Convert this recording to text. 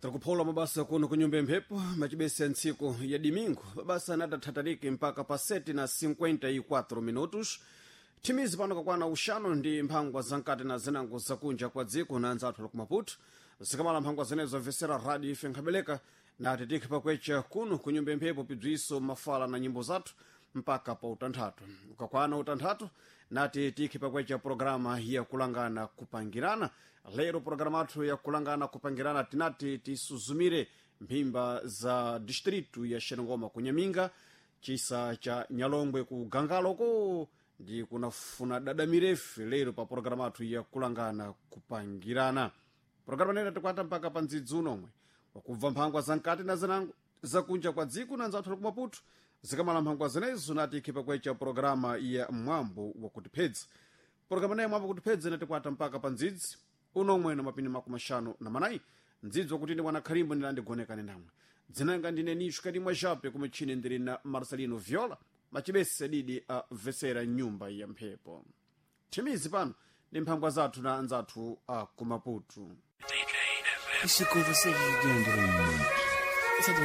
Takuphola mabasa kuno ku nyumba ya mphepo macibese ya ntsiku ya domingo, mabasa anatathatalike mpaka pa 7 na 54 minutos. Thimizi pano kakwana uxanu ndi mphangwa zamkati na zinango zakunja kwa dziko na anzathu ali ku Maputo. Zikamala mphangwa zenezo mvesera rádio ife nkhabeleka na titikhe pakwecha kuno ku nyumba ya mphepo pibziso mafala na nyimbo zathu mpaka pa utanthatu. Ukakwana utanthatu nati tikhe pakwecha programa ya kulangana kupangirana. Lero programa athu ya kulangana kupangirana tinati tisuzumire mphimba za distritu ya Xerengoma ku Nyaminga, chisa cha Nyalongwe ku Gangaloko ndi kunafuna dada mirefu. Lero pa programa athu ya kulangana kupangirana, programa nena tikwata mpaka pa ndzidzi unomwe wakubva mphangwa zamkati na zinango zakunja kwa dziko na nzathu ali ku Maputo. Zikamala mphangwa zenezo nati ikhipa kwecha programa ya mwambo wakutiphedza. Programa naye mwambo wakutiphedza inatikwata mpaka pa ndzidzi unomwe na mapini 54. Ndzidzi wakuti ndi mwana khalimbo ndilandigonekane namwe. Dzinanga ndine Nisho Kalimwa Jape, kumechine ndili na Marcelino Viola macibese didi a vesera nyumba ya mphepo. Thimizi pano ndi mphangwa zathu na anzathu a ku Maputo. E se com vocês de André. Essa é